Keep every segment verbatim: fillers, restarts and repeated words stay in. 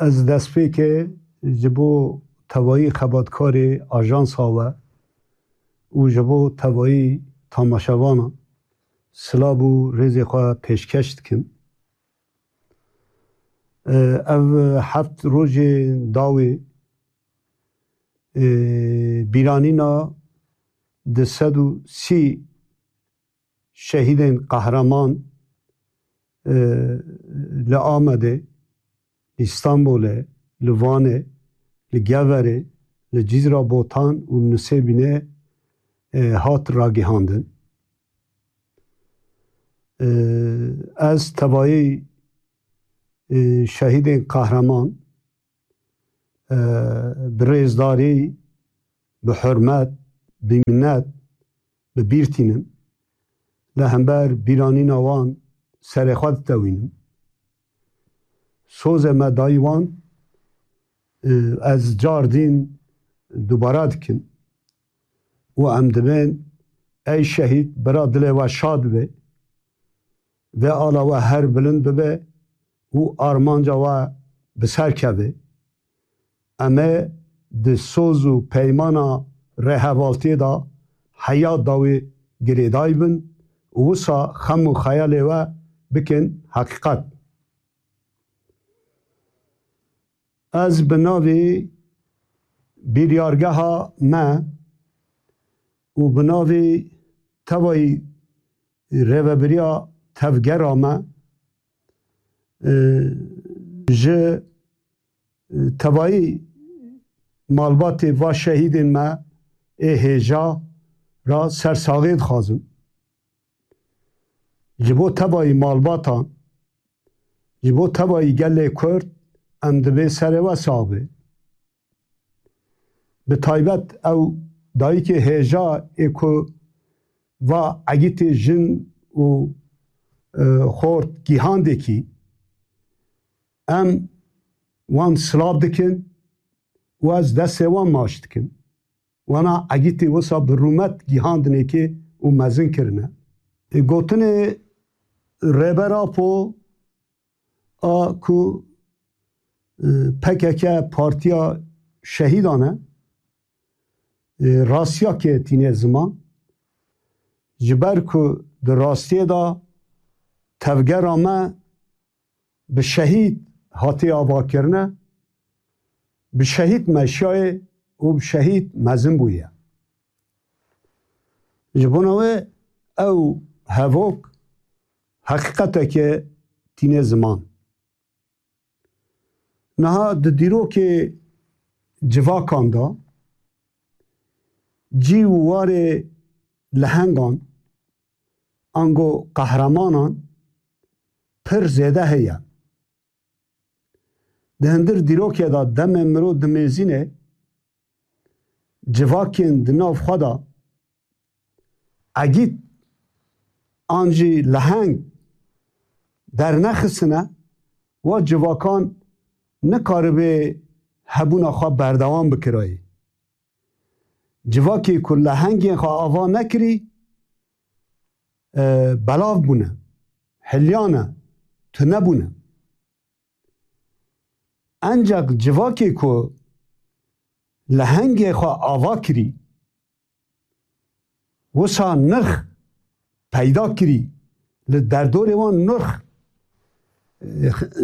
Ez destpêkê ji bo tevayî xebatkarê ajansa we û ji bo tevayî tamaşevanan silav û rêzê xwe pêşkeş dikim. Ev heft rojê dawê, e, bîranîna du sed û sî şehîdên qehreman, e, li Amedê, li Stenbolê, li Vanê, li Geverê, li Cizra Botan û Nisêbînê, e, hat ragihandin. E, ez tevayî, e, şehîdên qehreman, e, bi rêzdarî, bi hurmet, bi minet, bi bîr tînim. Li hember bîranîna wan serê xwe ditewînim. Sozê me dayî wan, e, ez car dîn dubara dikim û em dibên, ey şehîd, bira dilê we şad be, vê ala we her bilind bibe û armanca we bi ser keve. Em ê di soz û peymana rêhevaltiyê de heya dawî girêdayî bin û wisa xem û xeyalê we bikin heqîqet. Ez bi navê biryargeha me û bi navê tevayî rêvebiriya tevgera me, e, ji, e, tevayî malbatê va şehîdên me ê hêja re sersaxî dixwazim. Ji bo tevayî malbatan, ji bo tevayî gelê Kurd em dibê serê we sax be. Bi taybet ew dayikê hêja ê ku va egîtê jin û, e, xort gihandekî, em wan silav dikin û ez destê wan maç dikim. Wana egîtî wisa bi rûmet gihandinekê û mezin kirine. E, gotinê Rêber Apo a ku, e, P K K partiya şehîdan e, e, rastiyakê tîne ziman. Ji ber ku di rastiyê de tevgera me bi şehîd hatiye avakirine, bi şehîd meşiyayê û bi şehîd mezin bûye. Ji bona wê ew hevok heqîqeteke tîne ziman. Niha di dîrokê civakan de cî û warê lehengan, ango qehremanan pir zêde heye. Di hindir dîrokê de demê mirov dimêzîne, civakên di nav xwe de egît an jî leheng dernexistine, wa civakan nikaribê hebûna xwe berdewam bikirayê. Civakê ku lehengên xwe ava nekirî, e, belav bûne, hiliyane, tune bûne. Ancak civakê ku lehengê xwe ava kirî, wisa nirx peyda kirî, li derdorê wan nirx,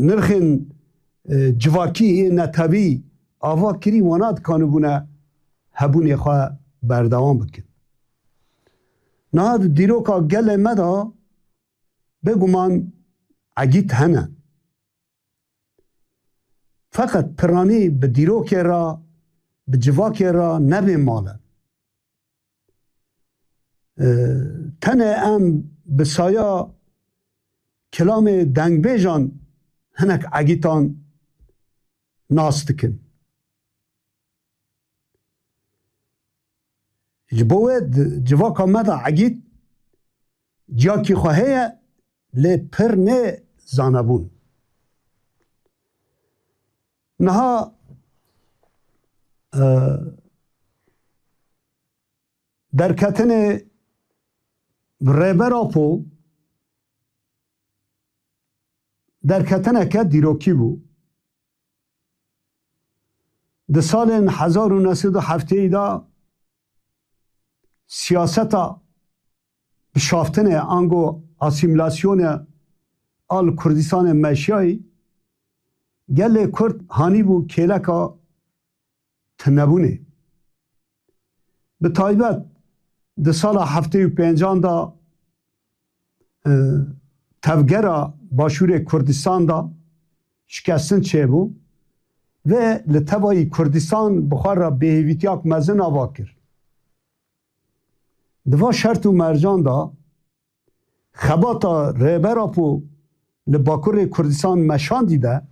nirxên, e, civakî yê netewî ava kirî, wana dikanibûne hebûnê xwe berdewam bikin. Niha di dîroka gelê me de bêguman egît hene. Feqet piranî bi dîrokê re, bi civakê re nebê mal e. E, tenê em bi saya kilamê dengbêjan hinek egîtan nas dikin. Ji bo wê di civaka me de egît ciyakî xwe heye, lê pir nê zanebûn. Niha, e, derketinê Rêber Apo derketineke dîrokî bû. Di salên hezar û neh sed û heftê de siyaseta bişaftinê ango asîmîlasyonê a li Kurdistanê meşiyayî gelê Kurd hanîbû kêleka tunebûnê. Bi taybet di sala heftê û pêncan de, e, tevgera Başûrê Kurdistan de şikestin çêbû ve li tevayî Kurdistan bi xwe re bêhêvîtiyak mezin ava kir. Di va şert û mercan de xebata Rêber Apo li Bakurê Kurdistan meşandî de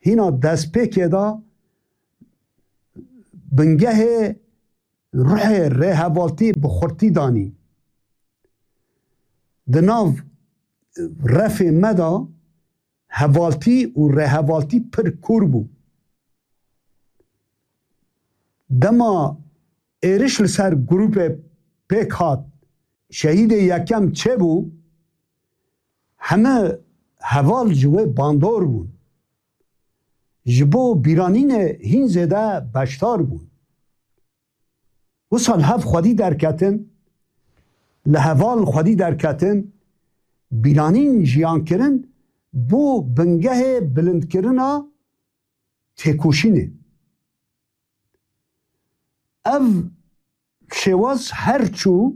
hîna destpêkê de bingehê ruhê rêhevaltî bi xurtî danî. Di nav refê me de hevaltî û rêhevaltî pir kûr bû. Dema êriş li ser grûpê pêk hat, şehîdê yekem çêbû, heme heval ji wê bandor bûn. Ji bo bîranînê hîn zêde beşdar bûn. Wisa li hev xwedî derketin, li heval xwedî derketin, bîranîn jiyan kirin, bû bingehê bilindkirina têkoşînê. Ev şêwaz her çû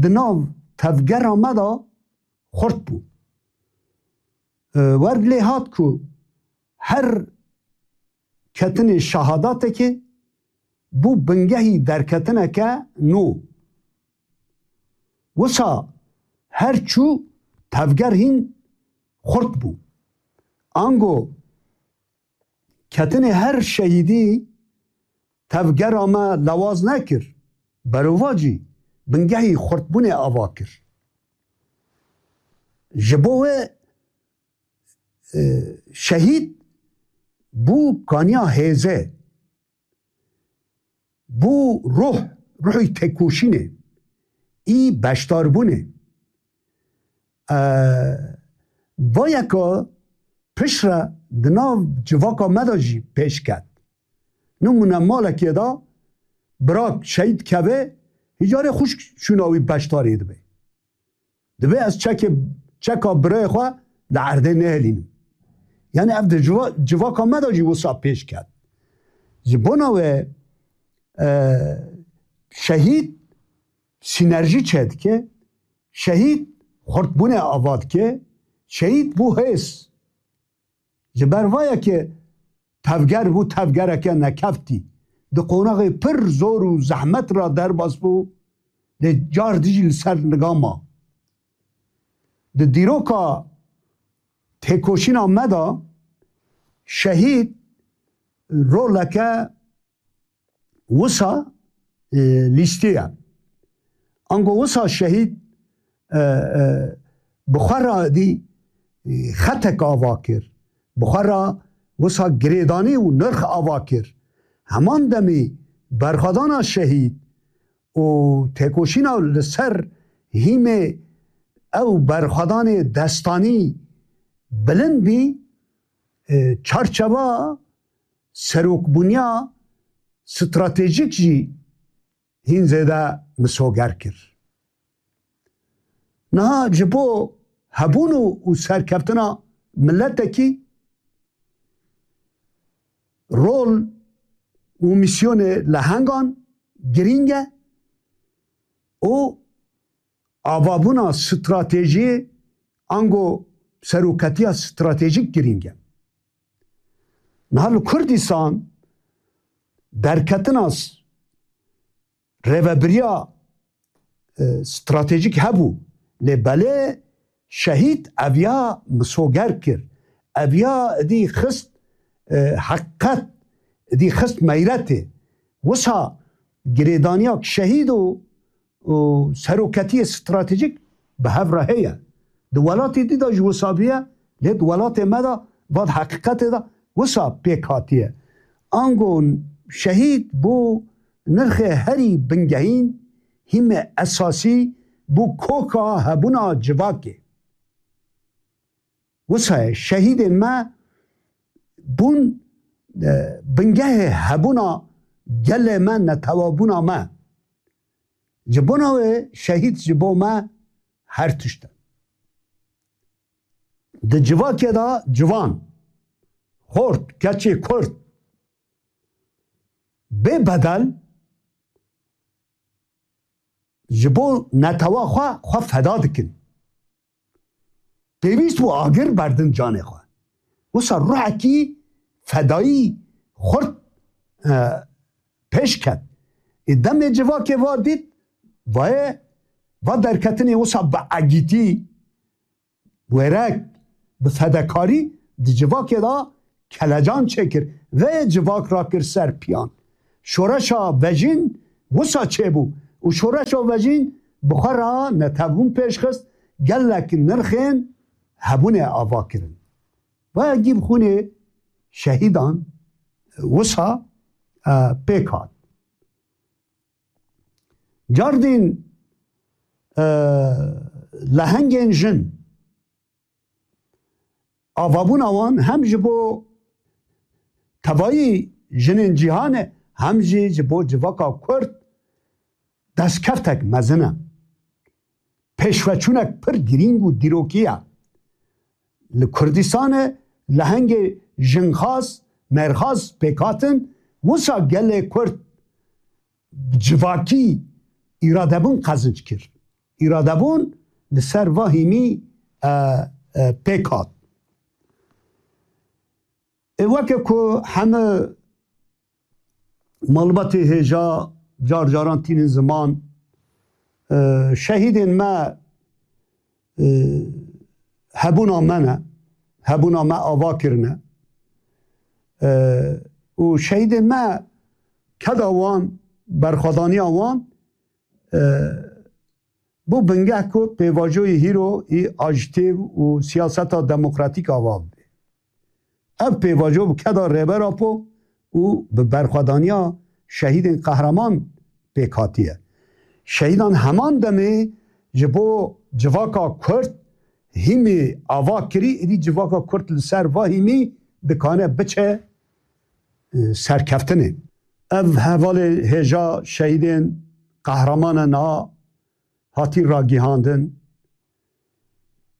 di nav tevgera me de xurt bû. E, wer lê hat ku her ketinê şehadatekê bû bingehî derketineke nû. Wisa her çû tevger hîn xurt bû. Ango ketinê her şehîdî tevgera me lewaz nekir. Berovajî bingehî xurtbûnê ava kir. Ji bo wê, e, şehîd bû kaniya hêzê, bû ruh, ruhî têkoşînê, î beşdarbûnê. E, va yeka piştre di nav civaka me de jî pêş ket. Nimûne malekê de birak şehîd keve, hîcarê xwişk şûna wî beşdarê dibe. Dibe ez çekê, çeka birayê xwe li erdê nehelînim. Yani ev di civa-, civaka me de jî wisa pêş ket. Ji bona wê, e, şehîd sînerjî çêdike, şehîd xurtbûnê ava dike, şehîd bû hêz. Ji ber vayekê tevger bû tevgereke nekeftî. Di qonaxê pir zor û zehmet re derbas bû, lê car dijî li ser niga ma. Di dîroka têkoşîna me de şehîd roleke wisa, e, lîstiye. Ango wisa şehîd, e, e, bi xwe re dî, e, xetek ava kir. Bi xwe re wisa girêdanî û nirx ava kir. Heman demî berxwedana şehîd û têkoşîna li ser hîmê ew berxwedanê destanî bilind bî, e, çarçeva serokbûniya stratejîk jî hîn zêde misoger kir. Niha ji bo hebûn û, û serkeftina miletekî rol û mîsyonê lehengan girîng e û avabûna stratejiyê ango seroketiya stratejîk girîng e. Niha li Kurdistan derketina s-, rêvebiriya, e, stratejîk hebû. Lê belê şehîd eviya misoger kir. Eviya dî xist, e, heqîqet dî xist meyretê. Wisa girêdaniya şehîd û û seroketiyê stratejîk bi hev re heye. Di welatê dî de jî wisa bûye, lê di welatê me de, va di heqîqetê de wisa pêk hatiye. Ango şehîd bû nirxê herî bingehîn, hîmê esasî bû koka hebûna civakê. Wisa ye, şehîdên me bûn e, bingehê hebûna gelê me, netewabûna me. Ji bona wê şehîd ji bo me her tişt e. Di civakê de ciwan, xort, keçê Kurd bê bedel ji bo netewa xwe, xwe feda dikin. Pêwîst bû agir berdin canê xwe. Wisa ruhekî fedayî xurt, e, pêş ket. Ê demê civakê va dît, vaye, va derketinê wisa bi egîtî, wêrek, bi fedekarî di civakê de kelecan çêkir. Vê civak rakir ser piyan. Şoreşa vejîn wisa çêbû û şoreşa vejîn bi xwe re netewbûn pêş xist, gelek nirxên hebûnê ava kirin. Vaya gî bi xûnê şehîdan wisa, e, pêk hat. Cardîn, e, lehengên jin, avabûna wan hem ji bo tevayî jinên cîhanê, hem jî ji bo civaka Kurd destkeftek mezin e. Pêşveçûnek pir girîng û dîrokî ye. Li Kurdistanê lehengê jinxwaz, mêrxwaz pêk hatin, wisa gelê Kurd civakî îradebûn qezinc kir. Îradebûn li ser va hîmî, e, e, pêk hat. Ê weke ku heme malbatê hêja car caran tînin ziman, e, şehîdên me, e, hebûna me ne, hebûna me ava kirine. E, û şehîdên me keda wan, berxwedaniya wan, e, bû bingeh ku pêvajoyê hîro î ajtê û siyaseta demokratîk ava bibe. Ev pêvajo bi keda Rêber Apo û bi berxwedaniya şehîdên qehreman pêk hatiye. Şehîdan heman demê ji bo civaka Kurd hîmê ava kirî, êdî civaka Kurd li ser va hîmî dikane biçe, e, serkeftinê. Ev hevalê hêja şehîdên qehreman e niha hatî ragihandin.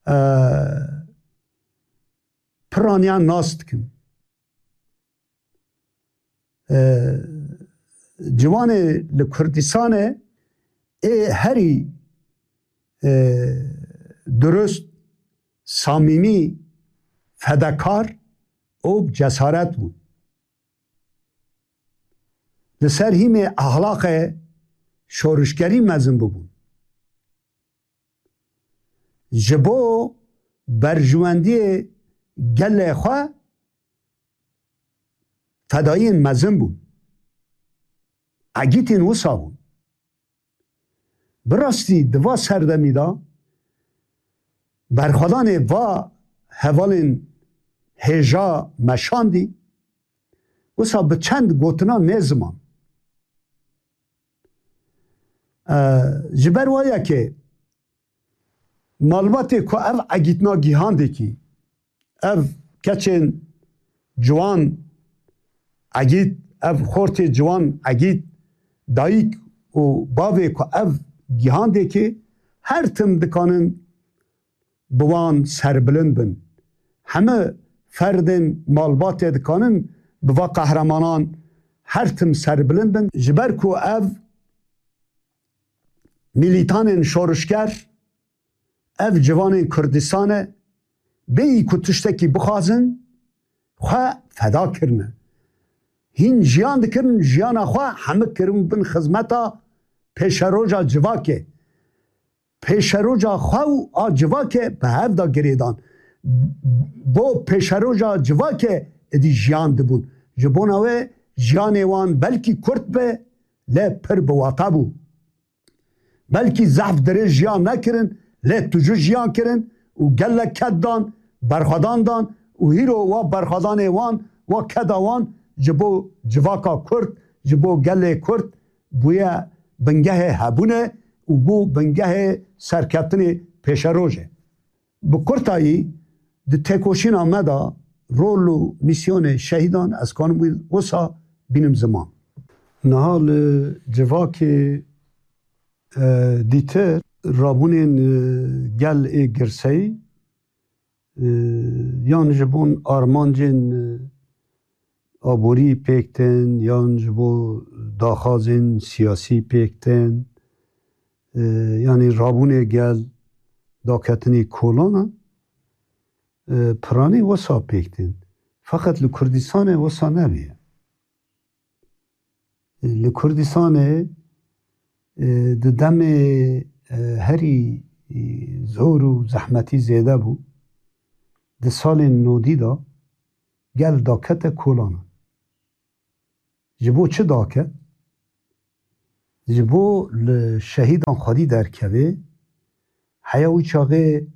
E, piraniyan nas dikin. E, ciwanê li Kurdistanê ê herî, e, durust, samîmî, fedekar û bi cesaret bûn. Li ser hîmê ahlaqê şorişgerî mezin bûbûn. Ji bo berjwendiyê gelê xwe fedayiyên mezin bûn. Egîtên wisa bûn. Bi rastî di va serdemî de berxwedanê va hevalên hêja me şandî, wisa bi çend gotina nê ziman. E, ji ber wa yekê malbatê ku ev egîtina gihandekî, ev keçên ciwan egît, ev xortê ciwan egît, dayik û bavê ku ev gihandekî her tim dikanin bi wan serbilind bin. Heme ferdên malbatê dikanin bi va qehremanan her tim serbilind bin. Ji ber ku ev milîtanên şorişger, ev ciwanên Kurdistane, bêyî ku tiştekî bixwazin, xwe feda kirine. Hîn jiyan dikirin, jiyana xwe hemik kirin bin xizmeta pêşeroja civakê. Pêşeroja xwe û a civakê bi hev de girêdan. Bo pêşeroja civakê êdî jiyan dibûn. Ji bona wê jiyanê wan belkî kurt be, lê pir bi wata bû. Belkî zehf dirêj jiyan nekirin, lê tûjû jiyan kirin û gelek ked dan, berxwedan dan û hîro wa berxwedanê wan, wa keda wan ji bo civaka Kurd, ji bo gelê Kurd bûye bingehê hebûnê û bû bingehê serkeftinê pêşerojê. Bi kurtayî, di têkoşîna me de rol û mîsyonê şehîdan ez kanim wî wisa bînim ziman. Niha li civakê, e, dîtir rabûnên, e, gel ê girseyî, e, yan ji bo armancên, e, aborî pêk tên, yan ji bo daxwazên siyasî pêk tên, e, yanî rabûnê gel daketinî kolana, e, piranî wisa pêk tên. Feqet li Kurdistanê wisa nebûye. Li Kurdistanê, e, di demê, e, herî, e, zor û zehmetî zêde bû. Di salên nodî de gel dakete kolana. Ji bo çi daket? Ji bo li şehîdan xwedî derkeve, heya wî çaxê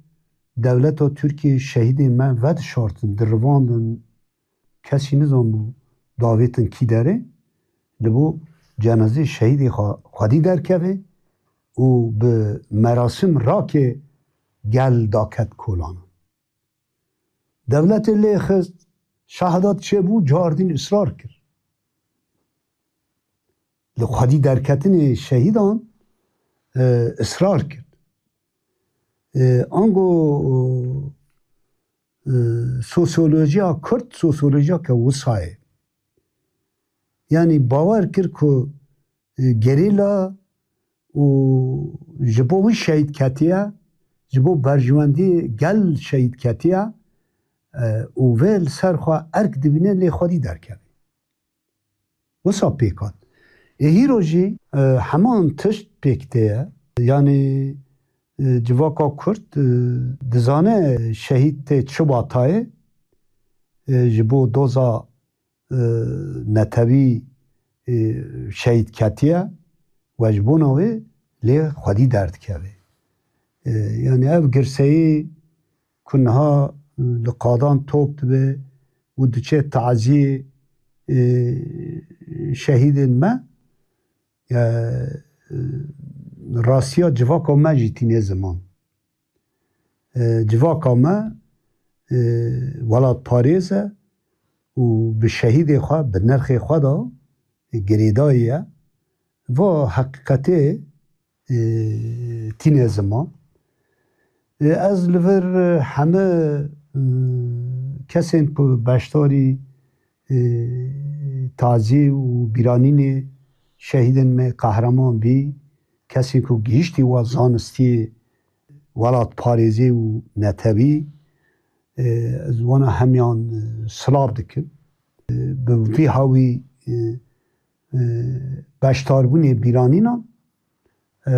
dewleta Tirkiyê şehîdên me vedişartin, dirivandin, kesî nizanbû davêtin kî derê, li bo cenazê şehîdê xwe xwedî derkeve û bi merasim rake gel daket kolana. Dewletê lê xist, şehadat çêbû, cardîn israr kir. Li xwedî derketinê şehîdan, e, israr kir. E, ango, e, sosyolojiya Kurd, sosyolojiyeke wisa ye. Yanî bawer kir ku, e, gerîla û ji bo wî şehîd ketiye, ji bo berjewendî gel şehîd ketiye, e, û vê li ser xwe erk dibîne lê xwedî derkeve. Wisa pêk hat. Ê hîro jî, e, heman tişt pêk tê ye. Yanî, e, civaka Kurd, e, dizane şehîd tê çi watayê, e, ji bo doza, e, netewî, e, şehîd ketiye we ji bona wê lê xwedî derdikeve. E, yanî ev girseyî ku niha, e, li qadan top dibe û diçe taziyê, e, şehîdên me, e, e, rastiya civaka me jî tîne ziman. E, civaka me, e, welatparêz e û bi şehîdê xwe, bi nirxê xwe de girêdayî ye. Va heqîqetê, e, tîne ziman. E, ez li vir, e, heme, e, kesên ku beşdarî, e, tazî û bîranînê şehîdên me qehreman bî, kesên ku gihîştî wa zanistiyê welatparêzê û netewî, e, ez wana hemiyan, e, silav dikim. E, bi vî hawî, e, e, beşdarbûnê bîranînan, e,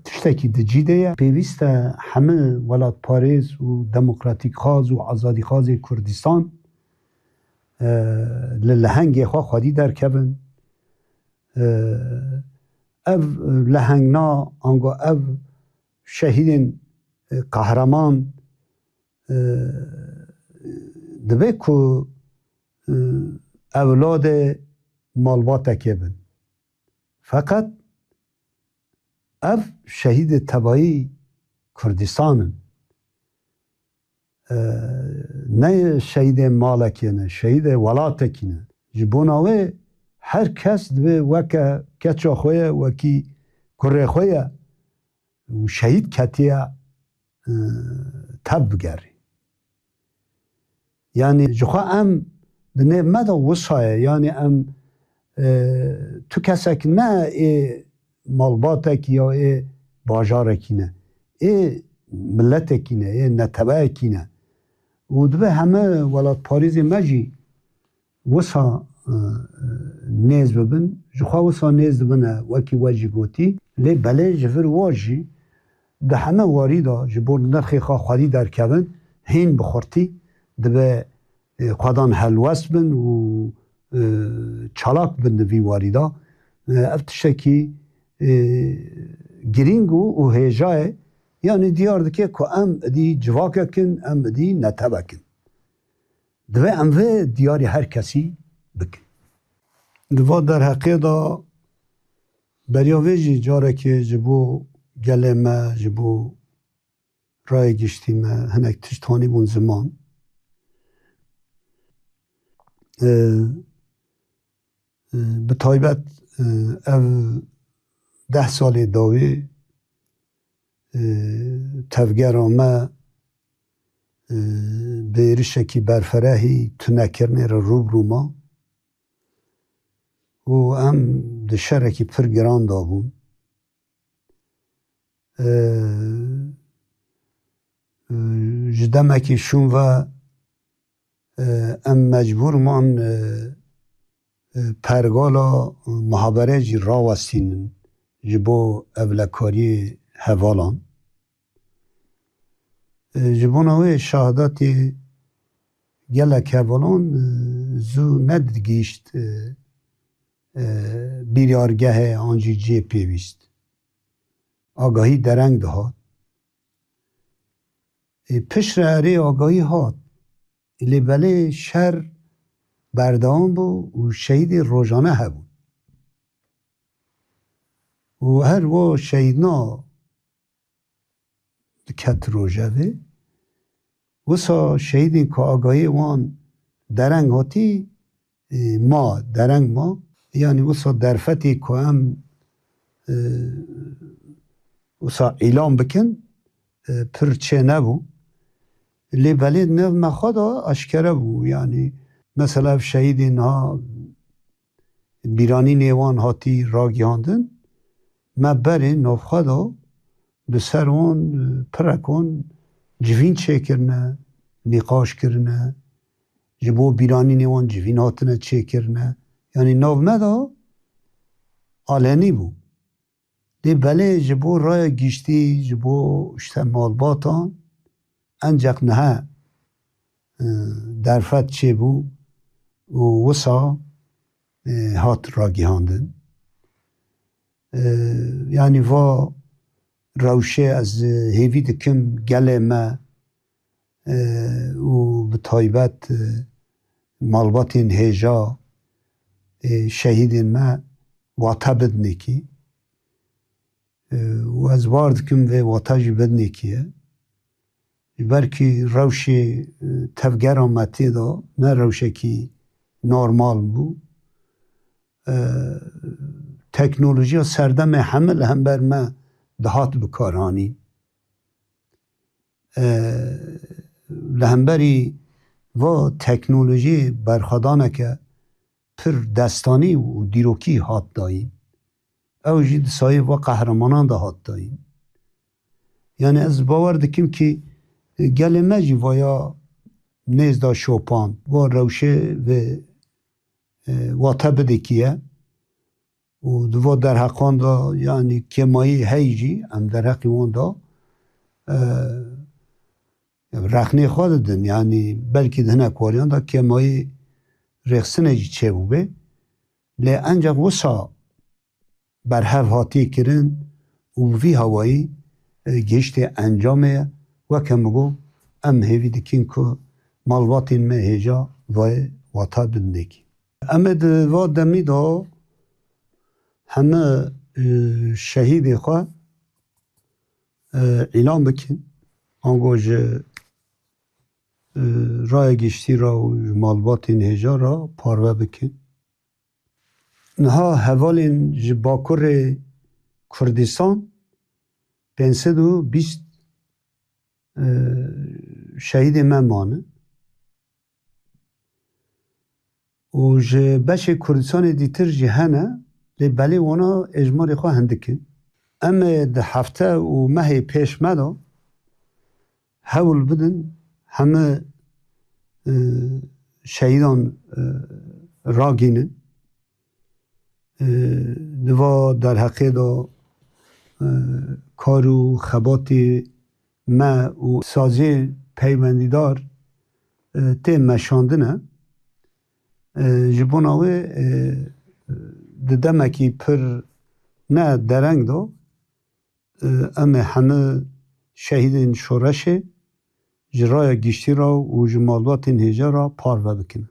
tiştekî di cî de ye. Pêwîst e hemî welatparêz û demokratîkxwaz û azadîxwazê Kurdistan, e, li lehengê xwe xwedî derkevin. E, ev lehengna ango ev şehîdên, e, qehreman, e, dibe ku, e, ewladê malbatekê bin. Feqet ev şehîdê tevayî Kurdistan in. E, ne şehîdê malekê ne, şehîdê welatekî ne. Ji bona wê her kes divê weke keça xwe ye, wekî kurê xwe ye û şehîd ketiye, e, tev bigerî. Yanî ji xwe em di nêv me de wisa ye. Yanî em, e, tu kesek ne ê malbatekî ya ê bajarekî ne. Ê miletekî ne, ê neteweyekî ne. Û dibe heme welatparêzê me jî wisa, e, e, nêz bibin, ji xwe wisa nêz dibine, wekî we jî gotî. Lê belê ji vir wa jî di heme warî de ji bo nirxê xwe xwedî derkevin, hîn bi xurtî dibe, e, xwedan helwest bin û, e, çalak bin di vî warî de. E, ev tiştekî, e, girîng û, û hêja ye. Yanî diyar dike ku em idî civakek in, em idî netewek in. Divê em vê diyarî her kesî bikin. Di va derheqê de beriya vê jî carekê ji bo gelê me, ji bo rayê giştî me hinek tişt hanîbûn ziman. E, e, bi taybet, e, ev deh salê dawî, e, tevgera me, e, bi êrişekî berferehî tunekirinê re rû bi rû ma û em di şerekî pir giran de bûn. E, e, ji demekî şûn ve, e, em mecbûr man, e, e, pergala muhabere jî rawestînin ji bo ewlekariyê hevalan. E, ji bona wê şahadatê gelek hevalan, e, zû nedigihîşt, e, e, biryargehê an jî cihê pêwîst. Agahî dereng dihat. E, piştre erê agahî hat. Lê belê şer berdewam bû û şehîdê rojane hebûn. Û her wo şehîdna diket rojevê, wisa şehîdên ku agahiyê wan dereng hatî, e, ma, dereng ma. Yanî wisa derfetê ku em, e, wisa îlan bikin, e, pir çênebû. Lê belê di nav me xwe de aşkere bû. Yanî mesela ev şehîdên niha bîranînê wan hatî ragihandin, me berê navxwe de di ser wan, e, pirek wan civîn çêkirine, nîqaş kirine, ji bo bîranînê wan civîn hatine çêkirine. Yanî nav me de alenî bû. Lê belê ji bo raya giştî, ji bo işte malbatan, enceq niha, e, derfet çêbû û wisa, e, hat ragihandin. E, yanî va rewşê ez hêvî dikim gelê me, e, û bi taybet, e, malbatên hêja, e, şehîdên me wate bidinekî. E, û ez bar dikim vê wata jî bidinekî ye. Ji ber kî rewşê, e, tevgera me tê de ne rewşekî normal bû. E, teknolojiya serdemê heme li hember me dihat bikaranîn. E, li hemberî va teknolojiyê berxwedaneke pir destanî û dîrokî hat dayîn. Ew jî di sayê va qehremanan de hat dayîn. Yani ez bawer dikim kî, e, gelê me jî vaya nêz da şopan, va rewşê vê, e, wate bidekî ye. Û di va derheqan de, yanî kêmayî hey jî, em derheqî wan de, e, rexnê xwe didin. Yanî belkî di hinek wariyan de kêmayî rêxistinê jî çêbûbê. Lê enceq wisa berhev hatiye kirin û bi vî hawayî, e, gihiştê encamê ye. Weke min got, em hêvî dikin ku malbatên me hêja vayê wata bidinekî. Em ê di va demî de heme, e, şehîdê xwe, e, îlan bikin. Ango ji, e, raya giştî re û ji malbatên hêja re parve bikin. Niha hevalên ji Bakurê Kurdistan pênc sed û bîst, e, şehîdê me mane. Û ji beşê Kurdistanê dîtir jî hene, lê belê wana êjmarê xwe hindik in. Em ê di hefte û mehê pêş me de hewl bidin heme, e, şehîdan, e, ragînin. E, di va derheqê de, e, kar û xebatê me û saziyê peywendîdar, e, tê meşandine. E, ji bona wê, e, di demekî pir ne dereng de, e, em ê hemî şehîdên şoreşê ji raya giştî re û ji malbatên hêja re parve bikin.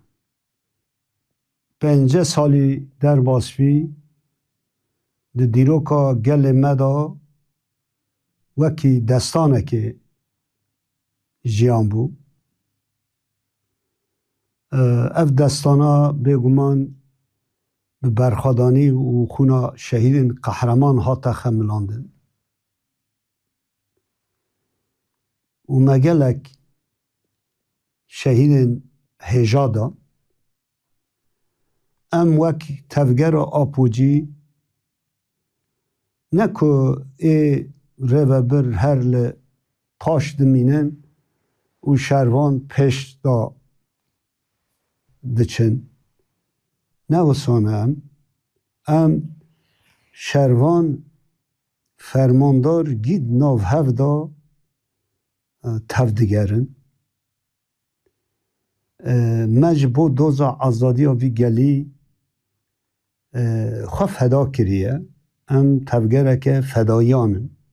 Pêncî salî derbas bî, di dîroka gelê me de wekî destanekê jiyan bû. Ev destana bêguman bi berxwedanî û xûna şehîdên qehreman hate xemilandin û me gelek şehîdên hêja da. Em wek tevgera Apocî ne ku ê rêvebir her li paş dimînin û şervan pêş da diçin. Ne wisa ne em. Em şervan fermandar gîd nav hev da, e, tev digerin. E, me ji bo doza azadiya vî gelî, e, xwe feda kiriye. Em tevgereke fedayiyan in.